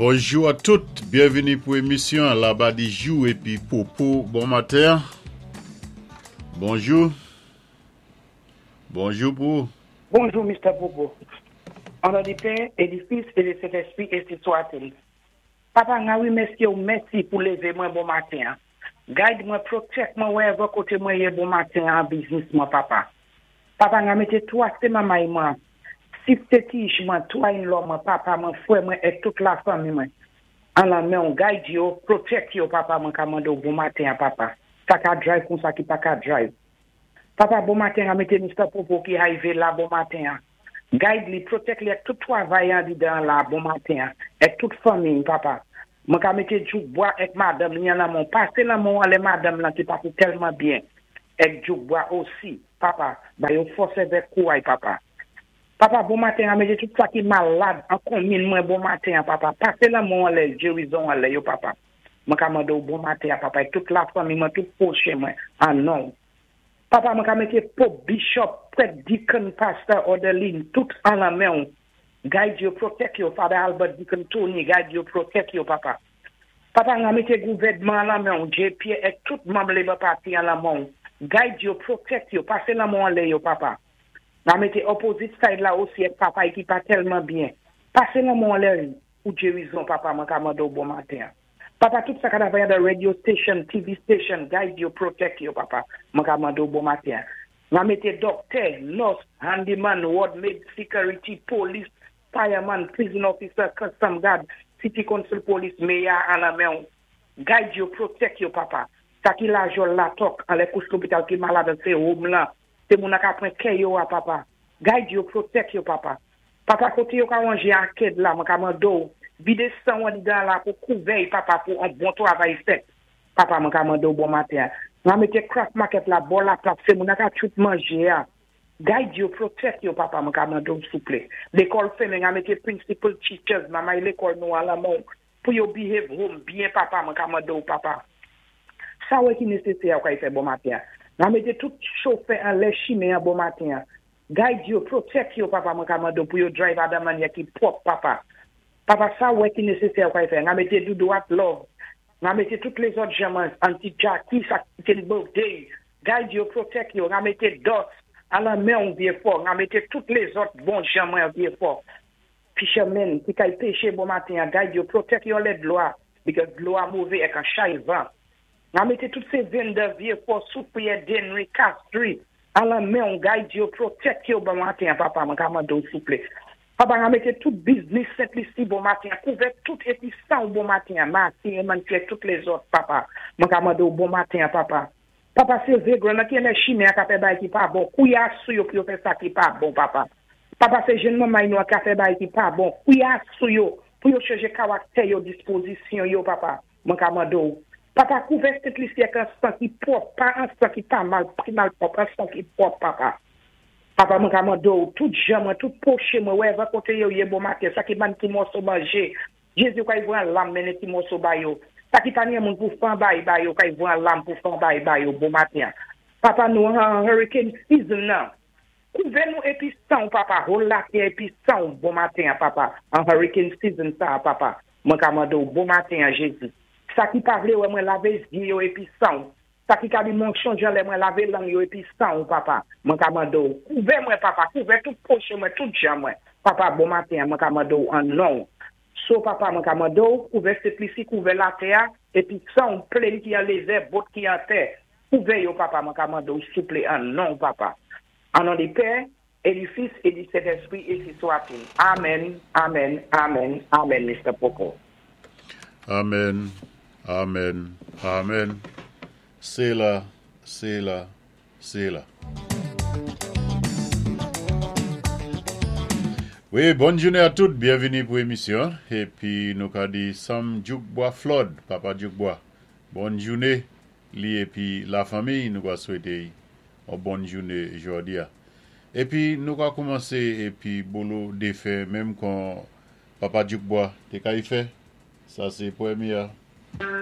Bonjou a tout, byenvini pou emisyon Labadijou epi Popo bon maten. Bonjou. Bonjou pou ou. Bonjou Mister Popo. O non di Pè e di Fis e di Sentespri ensi swatil. Papa nga remèsyew mèsi pou leve mwen bon maten an. Guide mwen protect mwen wherever kote mwen ye bon maten an biznis mwen papa. Papa nga mete 3 se mamay mwen, siste tij mwen, 3 in law mwen, papa mwen, frè mwen et tout la fanmi mwen an lan menw guide yo, protect yo papa mwen ka mandew bon maten an papa. Sa ka drive kon sa ki pa ka drive. Papa bon maten an mete Mister Popo ki hive la bon maten an. Guide li, protect li ak tout travay andidan an la bon maten an et tout fanmiy papa. Mwen ka mete Djoukbwa ek madanm li an lanmen w pase lanmen w anlè madanm lan ki pase tèlman byen ek Djoukbwa osi papa ba yo fòs evèk kouray papa. Papa bon maten an mete tout sa ki malad an konmin mwen bon maten an papa pase lanmen w anlè gerizon anlè yo papa. Mwen ka mande w bon maten an papa ek tout la fanmi mwen tout pwochen mwen an non w. Papa mwen ka mete pope bishop prèt deacon pastor orderline tout an lan menw guide yo protect yo father Albert deacon Tony guide yo protect yo papa papa mwen mete gouvèdman an lan menw J Pierre et tout manm labour party an lan menw guide yo protect yo pase lanmenw anlè yo papa mwen mete opposite side la osi et papay ki pa tèlman byen pase lanmenw anlè pou gerizon papa mwen ka mandew bon maten an. Papa tout sa ka travay andan radio station, TV station, guide yo, protect yo papa. Mwen ka mande w bon maten. Mwen mete doktè, nurse, handyman, ward maid, security, police, fireman, prison officer, custom guard, city council police, mayor an lan men w. Guide yo, protect yo papa. Sa ki la jol la tok, an lè kouch lopital ki malade se home lan. Se moun ak apren kè yo a papa. Guide yo, protect yo papa. Papa kote yo ka wanje akèd la, mwen ka mande w, vide san andidan la pou kouvèy papa pou an bon travay fèt. Papa mwen ka mande w bon maten. Mwen mete craft market la bò la plap se moun ak a tout manje a. Guide yo, protect yo papa mwen ka mande w souple. Lekòl fèmen mwen mete principal teachers, mamay lekòl nou an lan men w, pou yo behave home byen papa mwen ka mande w papa. Sa wè ki nesesè ou ka y fè bon maten. Mwen mete tout chofè an lè chime an bon maten. Guide yo, protect yo papa mwen ka mande w pou yo drive adan manyè ki pwòp papa. Papa sa wè ki nesesè ou ka y fè. Mwen mete Doudou at love. Mwen mete tout lèzòt jèman anti Jackie sa ki ten birthday. Guide yo, protect yo. Mwen mete Dot. Alan men ou vie fò. Mwen mete tout lèzòt bon jan mwen vie fò. Fishermen ki kay peche bon maten, guide yo, protect yo lè dlo a. Because dlo a move ek an chay van. Mwen mete tout se vendor vie fò, Soufrière, Dennery, Castries. Alan men ou guide yo, protect yo bon maten, papa, mwen ka mande w souple. Papa, mwen mete tout business Sent-Lisi bon maten, kouvè tout epi san ou bon maten, Masi, Emantier, tout lèzòt, papa. Mwen ka mande w bon maten, papa. Papa, se vegran nan ki eme chime a ka fè bay ki pa bon. Kouya sou yo pou yo fè sa ki pa bon, papa. Papa, se jenn manmay nou a ka fè bay ki pa bon. Kouya sou yo pou yo chanje karaktè yo, dispozisyon yo, papa. Mwen ka mande w. Papa, kouvè Sent-Lisi ak an san ki pwòp, pa an san ki pa mal, ki mal pwòp, an san ki pwòp, papa. Papa, mwen ka mande w, tout jan mwen, tout pwochen mwen, wè, kote yo ye bon maten, sa ki ban ti mòso manje, Jezi kay vran lam mennen ti mòso ba yo. Sa ki pa nye moun pou fan bay ba yo, kay vran lam pou fan bay ba yo, bon maten. Papa nou an hurricane season nan. Kouvè nou epi san ou, papa, hol la tè epi san ou, bon maten, papa. An hurricane season sa, papa. Mwen ka mande ou, bon maten, Jezi. Sa ki pa vle wè mwen lave zye yo epi san ou. Sa ki ka di monchon jan lè mwen lave lang yo epi san ou, papa. Mwen ka mande ou, kouvè mwen, papa, kouvè tout pwochen mwen, tout jan mwen. Papa, bon maten, mwen ka mande ou an non. So, papa, mwen ka mande ou, kouvè Sent-Lisi, kouvè latè, epi san ou, plane ki an lezè, boat ki an tè. Kouvè yo, papa, mwen ka mande ou, souple, an non, papa. An non di Pè, e di Fis, e di Sentespri, ensi swa-t-il. Amen, amen, amen, amen, Mr. Popo. Amen, amen, amen. Sela, sela, sela. Wi, bòn jounen a tout, byenvini pou emisyon. Epi nou ka di Sam Djoukbois Flood, papa Djoukbois. Bòn jounen li epi la fanmi nou ka swete yon bòn jounen jodi a. Epi nou ka koumanse epi bolo defen menm kon papa Djoukbois te ka y fè. Sa se premye a.